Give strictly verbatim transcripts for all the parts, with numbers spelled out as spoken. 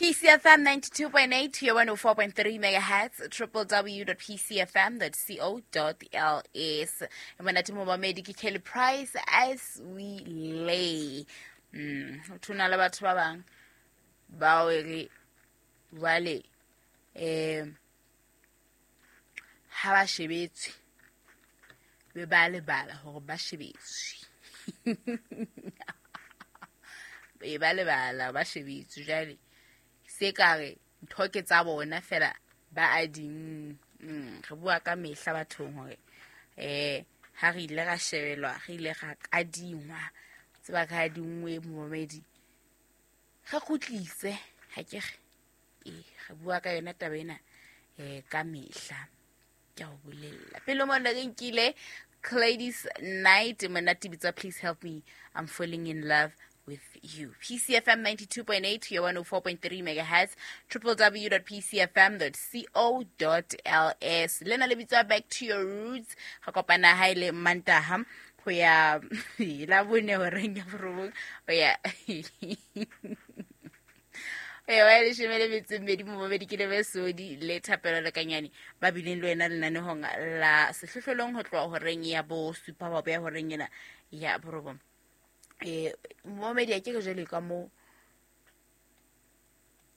P C F M ninety-two point eight to your one oh four point three megahertz, triple w dot p c f m dot co dot l s. And when I tell momamedi ke Kelly Price as we lay. Mm, ho na le batho ba bang bao e re jwale eh ha ba shebetswe be ba lebala hore ba shebetswe. Be ba lebala ba shebetswe jwale se ka re ntho ke tsa bona fela ba a ding. Mm, re bua ka mehla bathong hore eh ha re ile ra shebelwa, re ile ra kadingwa, tseba ka dingwe momamedi re kgutlise ha ke re eh re bua ka yona taba ena eh ka mehla. Ke a o bolella pele mona re nkile Ladies Night monate bitsa Please Help Me, I'm Falling in Love with You. P C F M ninety-two point eight to your one oh four point three megahertz, triple w dot p c f m dot co dot l s. Lena le bitswa Back to Your Roots. Re kopana ha ile Mantaha ho ya la bone horeng ya borobong ho ya e wa leshome le metso e mmedi momamedi ke Lebesodi le Thapelo Lekanyane ba bileng le wena lenanehong la sehlohlolong ho tloha horeng ya bo supa ba ya horeng ena ya borobong. Eh momamedi a ke re jwale ka mo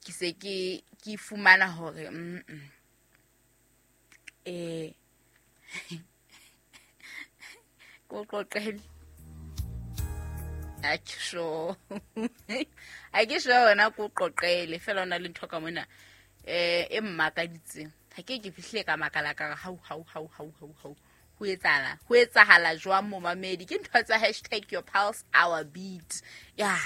ke se ke ke fumana hore mm eh ko qoqele a ke sure a ke sure wena ko qoqele fela ona le ntho ka mona eh e mmakaditseng ha ke ke fihle ka makala ka hau hau hau hau hau hau ho etsahala ho etsahala jwang momamedi ke ntho tsa hashtag your pulse our beat ya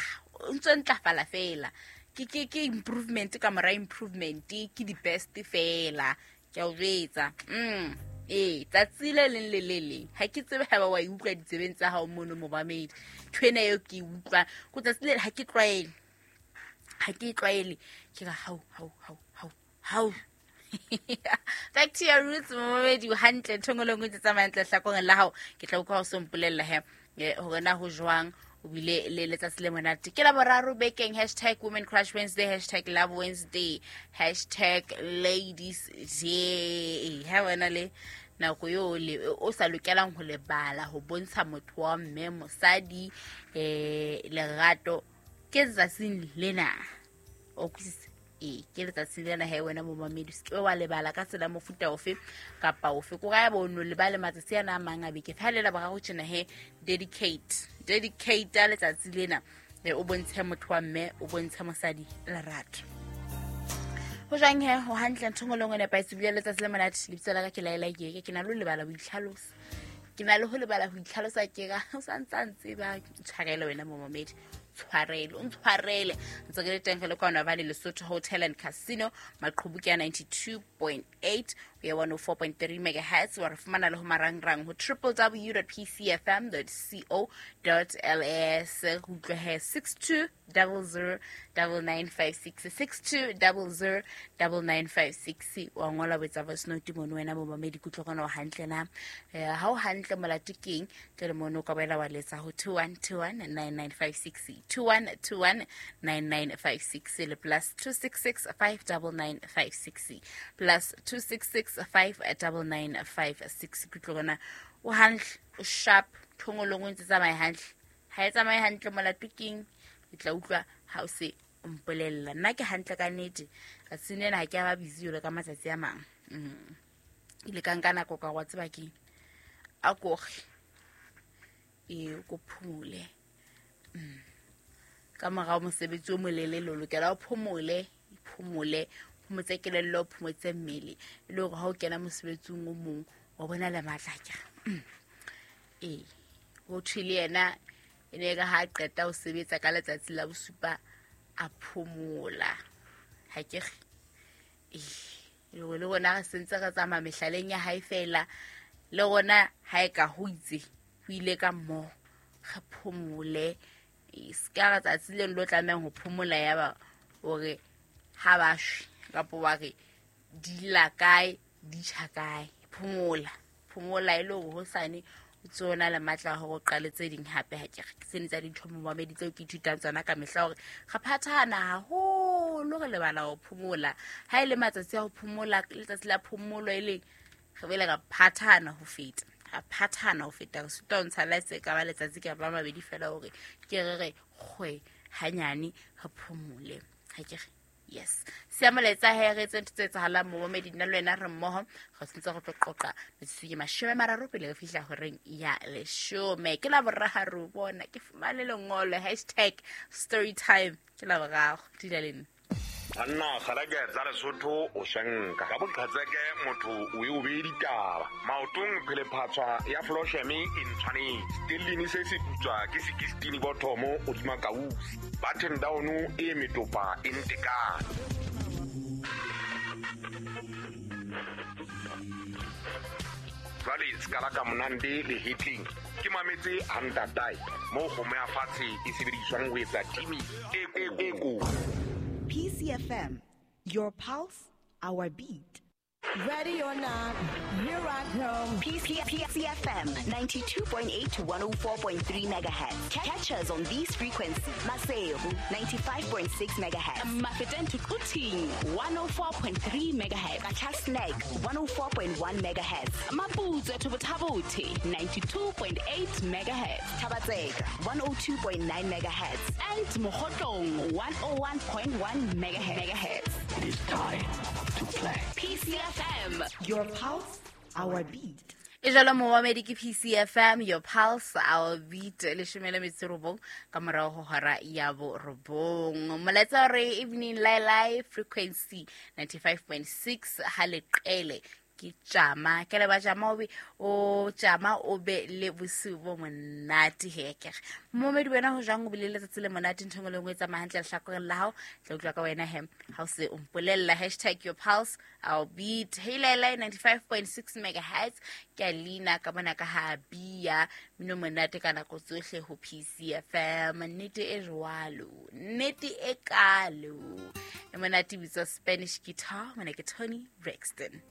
o ntse ntlafala fela ke ke ke improvement ka mora improvement ke di best fela ke a o jwetsa mm eh tsatsi le leng le le leng ha ke tsebe ha ba wa e utlwa ditsebeng tsa hao mono momamedi ntho ena eo ke e utlwang ko tsatsi le ha ke tlwaele ha ke tlwaele ke ra hau hau hau hau hau Back to your roots momamedi o hantle ntho engwe le engwe tse tsamayang ntle hlakoreng la hao ke tla utlwa o so mpolella he hore na ho jwang o bile le letsatsi le monate ke la boraro bekeng hashtag women crush Wednesday, hashtag love Wednesday, hashtag ladies day. Ha wena le nako eo le o sa lokelang ho lebala ho bontsha motho wa mme mosadi eh lerato ke letsatsing lena o kwisise e ke letsatsing lena he wena momamedi se ke wa lebala ka tsela mofuta ofe kapa ofe ko ga bo no lebale matsatsi ana a mang a beke fa le la boraro tjena he dedicate dedicate letsatsi lena e o bontshe motho wa mme o bontshe mosadi lerato ho jwang he ho hantle ntho ngwe le ngwe nepahetse bile letsatsi le monate lebitso la ka ke Laela Yeke ke na le ho lebala ho itlhalosa ke na le ho lebala ho itlhalosa ke ga o sa ntsa ntse ba tshwarele wena momamedi tshwarele o ntshwarele ntse ke le teng le kwana ba le Lesotho Hotel and Casino maqhubu ke ninety-two point eight we are one oh four point three megahertz wa re fumana le ho marangrang ho triple w dot p c f m dot co dot l s ho utlwe he six two zero zero nine nine five six six two zero zero nine nine five six wa ngola botsa voice note mono wena momamedi kutlwe gona o hantle na ha o hantle molato keng tle le mono ka boela wa letsa ho two one two one nine nine five six two one two one nine nine five six le plus two six six five nine nine five six plus two six six five nine nine five six kutlwe gona o hantle o sharp thongolong o ntse tsamaye hantle ha e tsamaye hantle molato keng ke tla utlwa ha o se mpolella nna ke hantle ka nnete tsatsing lena ha ke a ba busy jwalo ka matsatsi a mang mm ile ka nka nako ka wa tseba keng a koge e ko phomole mm ka morao mosebetsi o molelele o lokela o phomole phomole phomotse kelello phomotse mmele e le hore ha o kena mosebetsing o mong wa bona le matla ke eh ho thwe le yena e ne ka ha qeta ho sebetsa ka letsatsi la bosupa a phomola ha ke re eh le le rona re sentse re tsamaya mehlaleng ya hae fela le rona ha e ka ho itse ho ile ka mmoho re phomole e ska re tsatsi le lo tlamehang ho phomola ya ba hore ha ba shwe kapa wa re di la kae di tjha kae phomola phomola e le hore hosane o tsona le matla hore o qale tse ding hape ha ke re ke tsene tsa dintho momamedi tseo ke ithutang tsona ka mehla hore re phathahana haholo Haholo re lebala ho phomola. Ha e le matsatsi a ho phomola, letsatsi la phomolo e leng re bele ka phathana ho feta. Ra phathana ho feta re sitwa ho ntsha la se ka ba letsatsi ka ba mabedi fela hore ke re re kgwe hanyane re phomole. Ha ke re yes. Siya molaetsa he re etse ntho tse etsahalang momamedi nna le wena re mmoho re sentse re tlo qoqa metsotso ke mashome a mararo pele re fihla horeng ya leshome. Ke la boraro bona ke fumane lengolo hashtag story time ke la boraro dula le nna. Banna kgalake tsa Lesotho o shanka ka boqhetseke motho o e o be ditaba maotong phele phatswa ya flosheme e ntshwanetse stellini se se putswa ke sixteen bothomo o dima kausi button down e metopa e ntekane jwale skala ka monande le hitling ke mametse hantatai mo kgomo ya fatshe e sebediswang ho etsa timi e e ko P C F M, your pulse, our beat. Ready or not, here I come. P C F M ninety-two point eight to one oh four point three megahertz. Catch us on these frequencies. Maseru ninety-five point six megahertz. Mafeteng to Quthing one oh four point three megahertz. Qacha's Nek one oh four point one megahertz. Maputswe to Botha-Bothe ninety-two point eight megahertz. Thaba-Tseka one oh two point nine megahertz. And Mokhotlong one oh one point one megahertz. It is time to play. P C F M, your pulse, our beat. E jalo momamedi ke P C F M, your pulse, our beat. Leshome le metso robong ka morao ho hora ya borobong. Molaetsa re evening lai frequency ninety-five point six ha leqele ke tjama ke le ba tjama o be o tjama o be le bosiu bo monate heke. Momamedi wena ho jwang o bile letsatsi le monate ntho engwe le engwe e tsamaya hantle lehlakoreng la hao tla utlwa ka wena he ha o se o mpolella hashtag your pulse our beat. Hey lai ninety-five point six megahertz ke a leina ka bona ka ha bia mino monate ka nako tsohle ho P C F M. Nnete e jwalo, nnete e kalo e monate bitswa Spanish guitar mona ke Tony Braxton.